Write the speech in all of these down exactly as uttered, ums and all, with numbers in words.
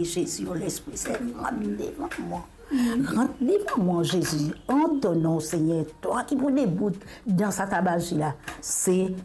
Zezi, o Lespri Sin, rant devan mwa. Rant devan mwa, Zezi, an to nom, Segner, twa ki pou debout dan sa tabazi la, se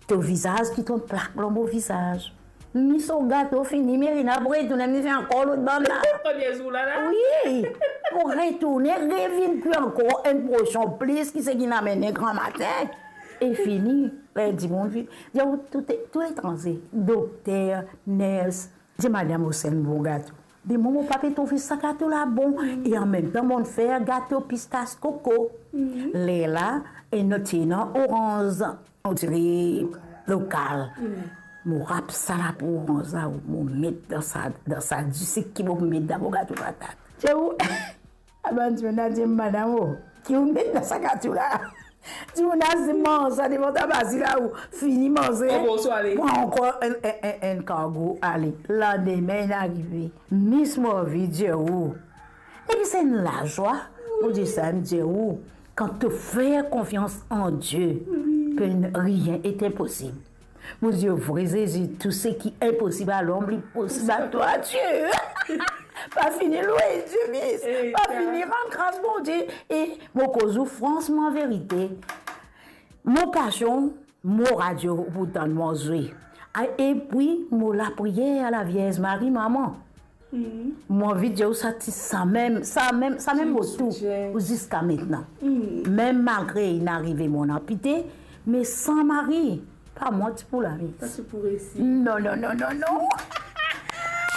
to vizaz ki tonn plak lor mo vizaz. Mi so gato fini, Merina pou retourne, mi fer ankor lot bann la. Premie zour la, la. Wi, pou retourne, revinn kwi ankor enn porsion plis ki seki inn amenn gramatin. E fini, ler dimoun vini. Dir ou tou, tou letranze, dokter, ners, dir madam, ou se enn bon gato. Be mwa, mo pa pe trouve sa gato la bon. E anmemtan, mo'nn fer gato pistas koko. Lerla, e nou ti ena oranz, on dirait lokal. Mo rap sa lapo oranz la, mo met dan sa, dan sa disik ki mo pou met dan mo gato patat. Ti ou, a bann dimoun la dir, madam, o, ki ou met dan sa gato la? Dimoun la, si manz sa devan tabazi la, ou fini manze. Bon, bonswa, ale. Pran ankor enn, enn, enn, enn kargo, ale. Landime, inn arive. Mis, mo anvi dir ou, epi se enn lazwa, mo dir sa, mo dir ou, kan to fer konfians an Die, wi, personne, rien est impossible. Mo dir ou, vre Zezi, tou seki inposib a lom, li posib a twa, Die. Pa fini lwe Die, mis. Pa fini rann gras Bondie. E mo koz ou fransman verite. Mo pasion, mo radio pou tann mwa zwe. A, epi mo lapriyer a Lavierz Mari, mama. Mo anvi dir ou sa ti samem, samem, samem mo tou, ziska mintnan. Mem malgre inn arive mo'nn anpite, me san Mari, pa mwa ti pou la, mis. Pa ti pou resi. Non, non, non, non, non.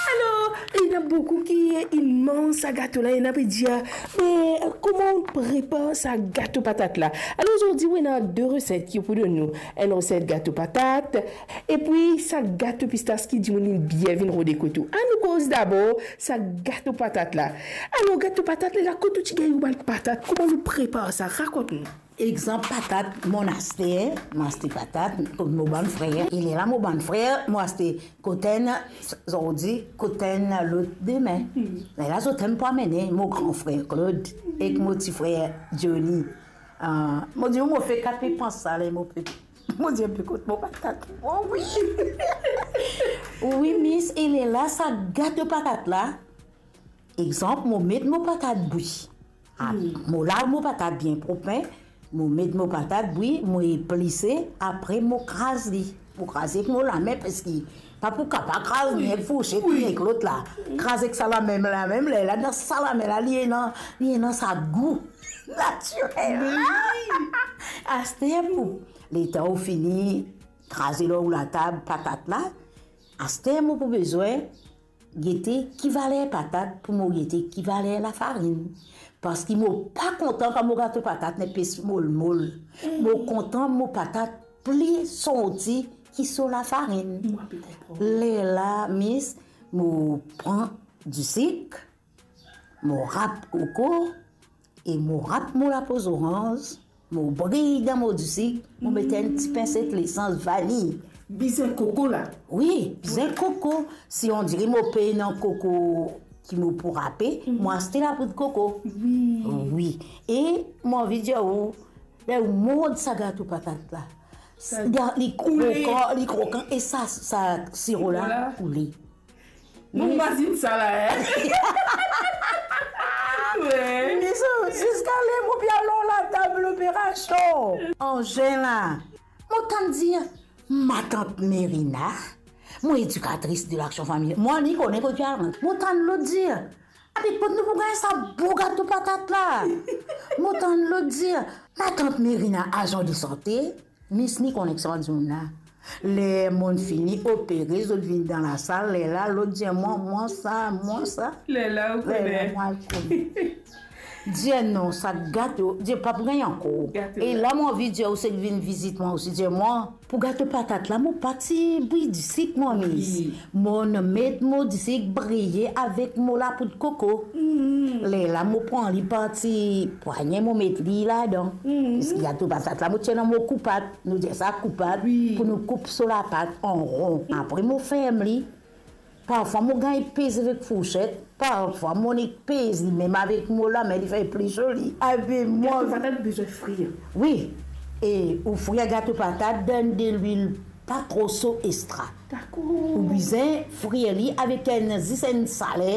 Alor, ena boukou ki inn manz sa gato la, ena pe dir, "Me kouma ou prepar sa gato patat la?" Alor, zordi, ou ena de reset ki pou donn nou. Enn reset gato patat, epi sa gato pistas ki dimoun inn bien vinn rode kot ou. Anou koz dabor sa gato patat la. Alor, gato patat la, kot ou ti gagn ou bann patat? Kouma ou prepar sa? Rakont nou. Exanp, patat, mo'nn aste, mo aste patat kot mo bann frer. E lerla mo bann frer, mo aste kot enn zordi, kot enn lot dime. Lerla zot enn pou amene, mo gran frer Claude ek mo ti frer Johnny. Ah, mo dir ou, mo fer kat pe pans sa, ler mo pe, mo dir, pe kot mo patat? O wi. Wi, mis, e lerla sa gato patat la, exanp, mo met mo patat bwi. Ah, mo lav mo patat bien prop, mo met mo patat bwi, mo eplise, apre mo kraz li. Mo kraz ek mo lame, parski pa pou kapav kraz li ek fourset, ni ek lot la. Kraz ek sa lame, lamem, lerla dan sa lame la, li ena, li ena sa gou natirel la. Aster pou, letan ou fini kraze lor ou latab patat la, aster mo pou bezwin gete ki valer patat pou mo gete ki valer lafarinn. Parski mo pa kontan kan mo gato patat inn epes molmol. Mo kontan mo patat pli sorti ki so lafarinn. Mo pe konpran. Lerla, mis, mo pran disik, mo rap koko, e mo rap mo lapo zoranz, mo briy dan mo disik, mo met enn ti pinset lesans vaniy. Bizin koko la? Wi, bizin koko. Si on dire mo pena koko ki mo pou rape, mo aste lapoud koko. Wi. Wi. E mo anvi dir ou, ler ou mord sa gato patat la, sa li koule, krokan, li krokan, e sa, sa siro la koule. Mo mazinn sa la, hein? Wi. Li so, ziska ler mo pe al lor latab loperasion. Anzin la, mo tann dir, matant Merina, mo edikatris de laksion familial. Mo ni kone kot li al. Mo tann lot dir, abe kot nou pou gagn sa bon gato patat la? Mo tann lot dir, matant Merina, azan de sante. Mis, ni koneksion ar dimoun la. Ler mo'nn fini opere, zot vinn dan lasal, lerla lot dir mwa, mwa sa, mwa sa. Lerla ou kone. Lerla mwa al kone. Dir non, sa gato, dir pa pou gagn ankor. Gato. E la mo anvi dir ou seki vinn vizit mwa osi, dir mwa, pou gato patat la, mo pa ti briy disik mwa, mis. Wi. Mo'nn met mo disik briye avek mo lapoud koko. Lerla mo pran li par ti pwagne, mo met li ladan. Paski gato patat la, mo ti ena mo koupat, nou dir sa koupat, wi, pou nou koup so lapat an ron. Apre mo ferm li. Parfwa mo gagn pez avek fourset, parfwa mo nek pez li mem avek mo lame, li fer pli zoli. Abe mwa. Gato patat bizin frir. Wi. E ou frir gato patat dan delwil pa tro so, estra. Dakor. Ou bizin frir li avek enn, zis enn saler.